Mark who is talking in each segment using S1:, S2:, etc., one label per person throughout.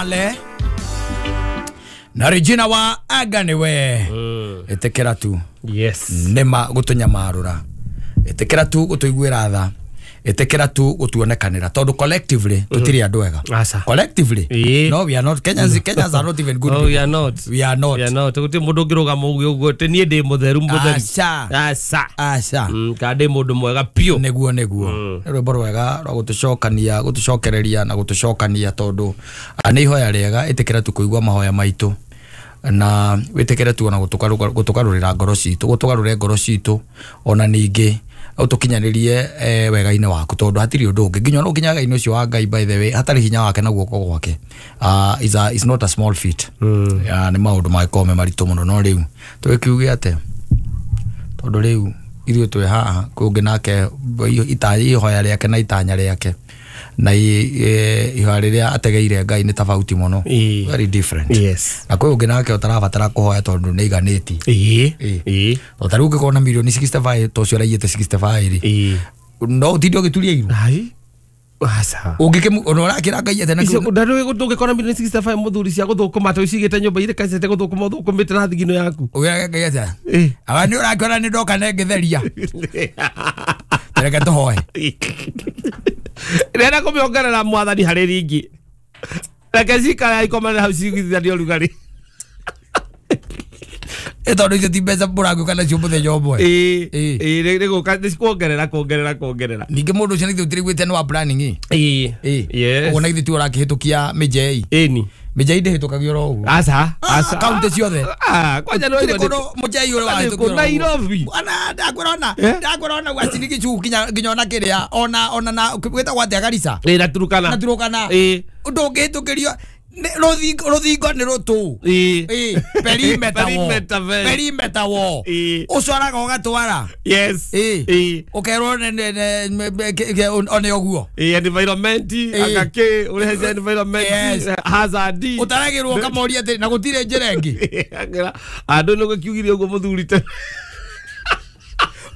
S1: Mwale na Regina wa Aganiwe. Itikira tu.
S2: Yes.
S1: Nima gutunyamarura. Itikira tu gutuiguira tha. Itikira tu gutuonekanira tondu collectively tutiri andu ega. Collectively. No, we are not Kenyans. Kenyans are not even good.
S2: Oh, we are not.
S1: We are not.
S2: We are not. Guti mundu ngirugama uguo uguo ti nie ndi mutheru mutheru.
S1: Aca.
S2: Aca.
S1: Aca.
S2: Ka ndi mundu mwega piu.
S1: Niguo niguo. Ni rwimbo rwega rwa gutucokania, gutucokereria na gutucokania tondu ni ihoya riega. Itikira tu kuigua mahoya maitu na witikire tu ona gutugarurira ngoro citu, gutugarure ngoro citu ona ningi utukinyanirie wega-inĩ waku tondu hatiri undu ungi nginya no nginya wega-inĩ ucio wa Ngai, by the way hatari hinya wake na guoko gwake is not a small feat. Ni maundu mangĩkorwo me maritũ mũno no rĩu tũgĩkiuge atĩa tondu rĩu ithuĩ twĩ haha kwĩ ũngĩ nake ihoya rĩake na itanya rĩake na ihoya rĩrĩa ategeire Ngai nĩ tofauti mũno, very different.
S2: Yes.
S1: Na kwĩ ũngĩ nake ũtarabatara kũhoya tondũ nĩ aiganĩtie. O ta rĩu ũngĩkorwo na mirioni 65 ta ũcio ũraiyĩte 65 rĩ, no ũtinde ũgĩturia iru.
S2: Aca.
S1: Ũngĩkĩmu ona ũrakĩra Ngai atĩa na
S2: icio ndarĩ ndũngĩkora mirioni 65 mũthuri cia gũthũkũma atĩ ũcigĩte nyũmba irĩ kacete gũthũkũma ũthũkũmĩte na thigino yaku.
S1: Ũgĩraga Ngai atĩa? Aba nĩ ũrakĩona nĩ ndoka na ngĩtheria. Reke tũhoe.
S2: Rera kũmĩongerera mwathani harĩ ringi. Reke cikare ikomane hau ciguithanie ũrugarĩ.
S1: Tondu icio ti mbeca mũragĩũka nacio mũthenya ũmwe.
S2: Ĩĩ nĩ gũka nĩ kuongerera kuongerera kuongerera.
S1: Ningĩ mũndũ ũcio nĩ ithuĩ tũtiraiguĩte nĩ wa planning.
S2: Ĩĩ. Yes.
S1: Ũguo na ithuĩ tiwe ũrakĩhĩtũkia mĩnjei.
S2: Ĩni.
S1: Mĩnjei ndĩhĩtũkagio oro ũguo.
S2: Aca. Aca.
S1: Kaunti ciothe.
S2: Kwanja nĩ
S1: Gũtirĩ kũndũ mũnjei ũrĩa wahĩtũkio oro ũguo.
S2: Nairobi.
S1: Ona ndakwĩra ona ndakwĩra ona Uasin Gishu nginya ona kĩrĩa ona ona na gwĩtagwo atĩa Garissa.
S2: Ĩĩ na Turkana.
S1: Na Turkana.
S2: Ĩĩ.
S1: Ndũngĩhĩtũkĩrio rũthingo nĩ rũtũ.
S2: Ĩĩ.
S1: Perimeter wall.
S2: Perimeter.
S1: Perimeter wall. Ũcoraga ũgatwara.
S2: Yes.
S1: Ĩĩ. Ũkerwo one ũguo.
S2: Ĩĩ environment agakĩ ũrehe cia environment hazard.
S1: Ũtaragĩrwo ũkamoria atĩ na gũtirĩ njĩra ĩngĩ.
S2: Andũ nĩ gũkiugire ũguo mũthuri te.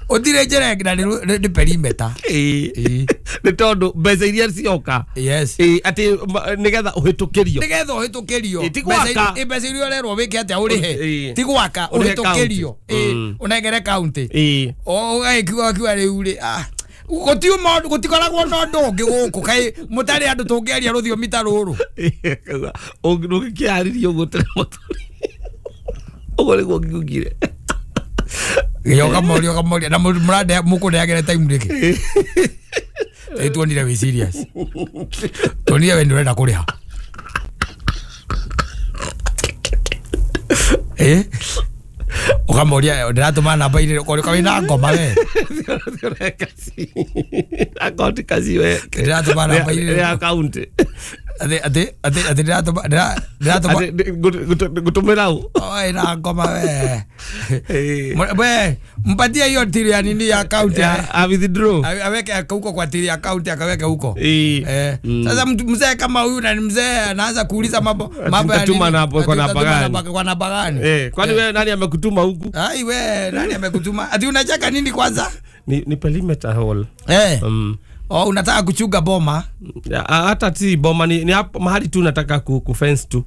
S1: Ũtirĩ njĩra ĩngĩ na nĩ perimeter.
S2: Ĩĩ. Nĩ tondũ mbeca iria cioka.
S1: Yes.
S2: Ĩĩ atĩ nĩgetha ũhĩtũkĩrio.
S1: Nĩgetha ũhĩtũkĩrio.
S2: Ti gwaka.
S1: Mbeca iria ũrerwo wĩke atĩa ũrĩhe. Ti gwaka ũhĩtũkĩrio. Ĩĩ ũnengere county.
S2: Ĩĩ.
S1: Ũgagĩkiuga kiuga rĩu rĩ gũtiuma gũtikoragwo na ũndũ ũngĩ gũkũ kaĩ mũtarĩ andũ tũngĩaria rũthiomi ta rũrũ.
S2: Ũngĩkĩarĩria ũguo tene mũthuri. Ũguo nĩguo ngiugire.
S1: Ũkamoria ũkamoria na mũrande mũkũneagĩre time rĩkĩ. Ĩ tuonire wĩ serious. Tuonire we nĩ ũrenda kũrĩha. Ũkamoria ndĩratũma namba inĩ ũkorwo wĩna ngoma we.
S2: Akaunti kaci we.
S1: Ndĩratũma namba inĩ
S2: ya akaunti.
S1: Atĩ atĩ atĩ atĩ ndĩratũma ndĩratũma
S2: ngũtũmĩra ũ.
S1: Oi na ngoma we. We mpatie hiyo tiri ya nini ya account
S2: ya withdraw.
S1: Aweke huko kwa tiri account akaweke huko. Sasa mzee kama huyu na mzee anaanza kuuliza mambo mambo ya nini?
S2: Kwa namba gani?
S1: Kwa namba gani?
S2: Kwani wewe nani amekutuma huku?
S1: Ai we nani amekutuma? Ati unacheka nini kwanza?
S2: Ni perimeter hall.
S1: Oh, unataka kuchunga boma?
S2: Hata si boma ni hapo mahali tu nataka ku fence tu.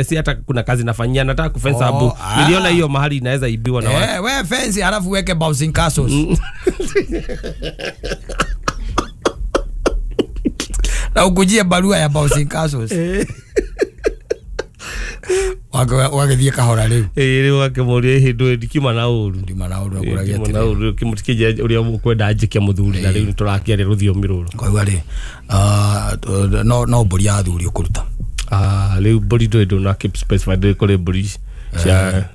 S2: Si hata kuna kazi nafanyia nataka ku fence hapo. Niliona hiyo mahali inaweza ibiwa na watu.
S1: We fence halafu weke bouncing castles. Na ukujie barua ya bouncing castles. Wagĩthiĩ kahora rĩu.
S2: Rĩu akĩmũria hĩndĩ ndikiuma na ũru.
S1: Ndiuma na ũru akũragia
S2: atĩrĩ. Na ũru kĩmũtikĩnjĩra ũrĩa mũkwenda njĩke mũthuri na rĩu nĩtũrakĩaria rũthiomi rũrũ.
S1: Ngaigua rĩ no mbũri ya athuri ũkũruta.
S2: Rĩu mbũri ndũĩ ndũna keep specified ndũĩ kũrĩ mbũri cia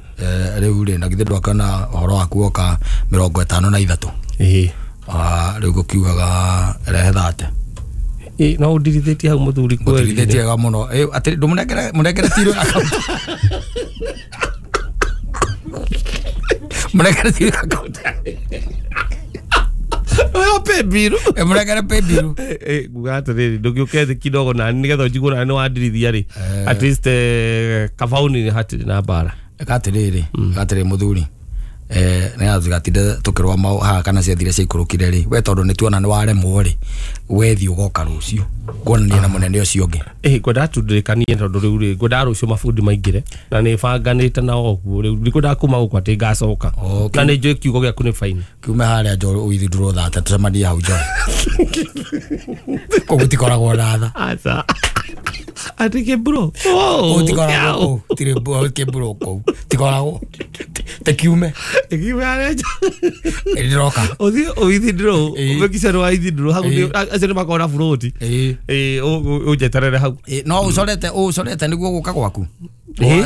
S1: rĩu rĩ na githĩ ndwakĩona ũhoro waku woka 53.
S2: Ĩĩ.
S1: Rĩu gũkiugaga rehe 30.
S2: No ũndirithĩtie hau mũthuri kweli.
S1: Ngũtirithĩtie wega mũno. Atĩ ndũmũnengere mũnengere tiro account. Mũnengere tiro account.
S2: Oyo pay bill.
S1: Mũnengere pay bill.
S2: Nguga atĩrĩrĩ ndũgĩũke thĩ kidogo na nĩgetha ũnjigue na nĩ wandirithia rĩ. At least kabauni hatirĩ na mbara.
S1: Eka atĩrĩrĩ, eka atĩrĩrĩ mũthuri. Nä tugatinde tå mau haha kana ciathire ciaikũrũkire rĩ we tondũ nĩ tuona nĩ waremwo rĩ wethiĩ ũgoka rũciũ kuonania na mũnene ũcio ũngĩ.
S2: Ngwendaga tu ndirikanie tondũ rĩu rĩ ngwendaga rũciũ mabundi maingĩre na nĩ banganĩte nao ũguo rĩu ndikwendaga kuma gũkũ atĩ ngacoka na nĩ njũĩ kiugo gĩaku nĩ baini
S1: kiume harĩa njo ũithindũrwo thate tũcemanie hau njo kũu gũtikoragwo na tha.
S2: Aca atĩ kĩmburo
S1: kũu tikoragwo kũu tirĩ kĩmburo kũu tikoragwo tekiume
S2: kiume harĩa nja
S1: ndĩroka
S2: ũthiĩ ũithindũrwo ũmĩkice nĩ waithindũrwo hau acio nĩ makoragwo na buroti ũnjeterere hau.
S1: No ũcorete nĩguo gũka gwaku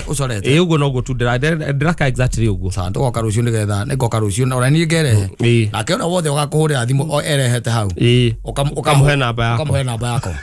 S1: ũcorete
S2: ũguo noguo tu ndĩraka exactly ũguo.
S1: Sawa tũgoka rũciũ nĩgetha nĩngoka rũciũ ona niĩ ngerehe nake ũrĩa wothe ũgakũhũrĩra thimũ erehete hau
S2: ũkamũhe namba yakwa.
S1: Ũkamũhe namba yakwa.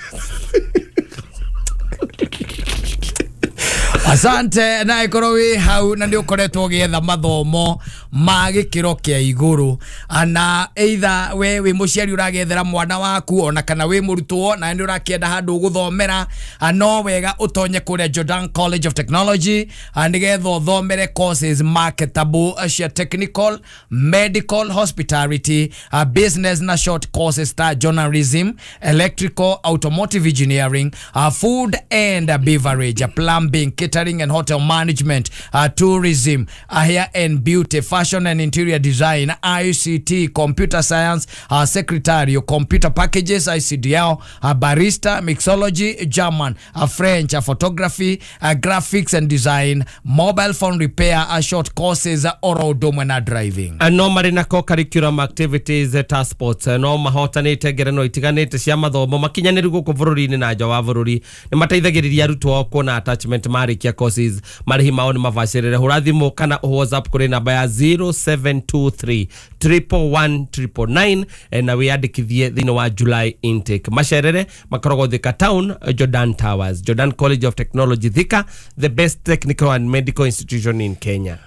S1: Asante na ikorwo wi hau na nĩ ũkoretwo ũgĩetha mathomo ma gĩkĩro kĩa igũrũ ana either we wĩ mũciari ũragethera mwana waku ona kana wĩ mũrutwo na nĩ ũrakĩenda handũ ũgũthomera no wega ũtonye kũrĩa Jordan College of Technology nĩgetha ũthomere courses marketable cia technical, medical, hospitality, business na short courses ta journalism, electrical, automotive engineering, food and beverage, plumbing, catering and hotel management, tourism, hair and beauty, fashion and interior design, ICT, computer science, secretarial, computer packages, ICDL, barista, mixology, German, French, photography, graphics and design, mobile phone repair, short courses, oro domwe na driving.
S2: No marĩ na co-curriculum activities ta sports no mahotanĩte ngerenwa itiganĩte cia mathomo makinyanĩru gũkũ bũrũri-inĩ na nja wa bũrũri nĩ mateithagĩrĩria arutwo ao kuona attachment marĩkia courses marĩhi mao nĩ mabacĩrĩre. Hũra thimũ kana WhatsApp kũrĩ namba ya 0723 111 999 na wĩyandĩkithie thĩinĩ wa July intake. Macerere makoragwo Thika Town, Jordan Towers, Jordan College of Technology Thika, the best technical and medical institution in Kenya.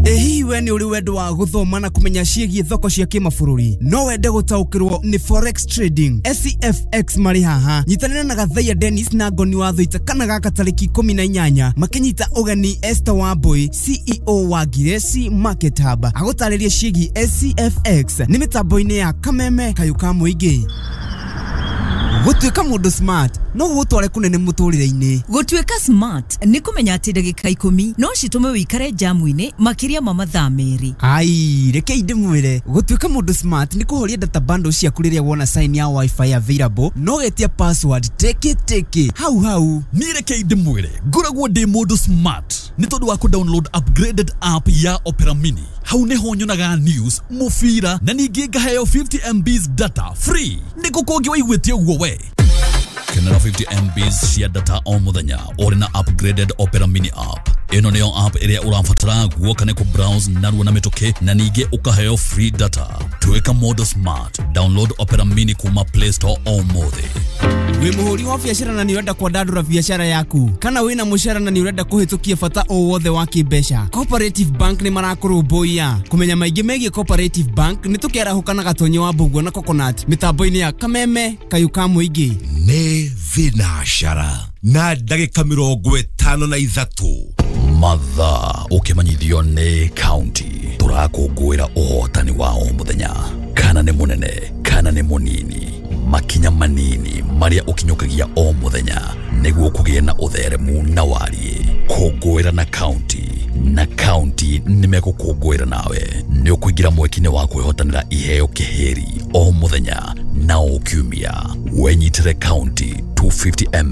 S3: Hihi we nĩ ũrĩ wendo wa gũthoma na kũmenya ciĩgiĩ thoko cia kĩmabũrũri no wende gũtaũkĩrwo nĩ forex trading SCFX marĩ haha nyitanĩra na Gathaiya Dennis na Ngoni wa Thuita kana gaka tarĩki 18 makĩnyita ũgeni Esther Wambui CEO wa Giresi Market Hub agũtarĩrie ciĩgiĩ SCFX nĩ mĩtambo-inĩ ya Kameme Kayũ ka Mũingĩ. Gũtuĩka mũndũ smart no gũgũtware kũnene mũtũrĩre-inĩ.
S4: Gũtuĩka smart nĩ kũmenya atĩ ndagĩka 10 no citũme wĩikare jamu-inĩ makĩria ma mathaa 2.
S3: Ai, rekei ndĩmwĩre gũtuĩka mũndũ smart nĩ kũhoria data bundle ciaku rĩrĩa wona sign ya wifi available no getia password teke teke hau hau.
S5: Niĩ rekei ndĩmwĩre ngoragwo ndĩ mũndũ smart nĩ tondũ wa kũ download upgraded app ya Opera Mini. Hau nĩho nyonaga news, mũbira na ningĩ ngaheo 50 MBs data free. Nĩkũ kũngĩ waiguĩte ũguo we? Kenera 50 MBs cia data o mũthenya ũrĩ na upgraded Opera Mini app. Ĩno nĩyo app ĩrĩa ũrabatara guoka nĩ kũ-browse narua na mĩtũkĩ na ningĩ ũkaheo free data. Tuĩka mũndũ smart. Download Opera Mini kuma Play Store ũmũthĩ.
S3: Wĩ mũhũri wa biacara na nĩ ũrenda kwandandũra biacara yaku kana wĩna mũcara na nĩ ũrenda kũhĩtũkia bata o wothe wa kĩmbeca Cooperative Bank nĩ marakũrũmbũiya. Kũmenya maingĩ megiĩ Cooperative Bank nĩ tũkĩarahũka na Gatonyi wa Mbũguo na Coconut mĩtambo-inĩ ya Kameme Kayũ ka Mũingĩ.
S6: Nĩ thinacara na ndagĩka 53
S5: Mathaa ũkĩmenyithio nĩ county tũrakũngũĩra ũhotani wa o mũthenya kana nĩ mũnene kana nĩ mũnini makinya manini marĩa ũkinyũkagia o mũthenya nĩguo kũgĩe na ũtheremu na wariĩ. Kũngũĩra na county na county nĩmegũkũngũĩra nawe. Nĩ ũkũingĩra mweki-inĩ wa kwĩhotanĩra iheo kĩhĩri o mũthenya na o kiumia. Wenyitĩre county 250 ml.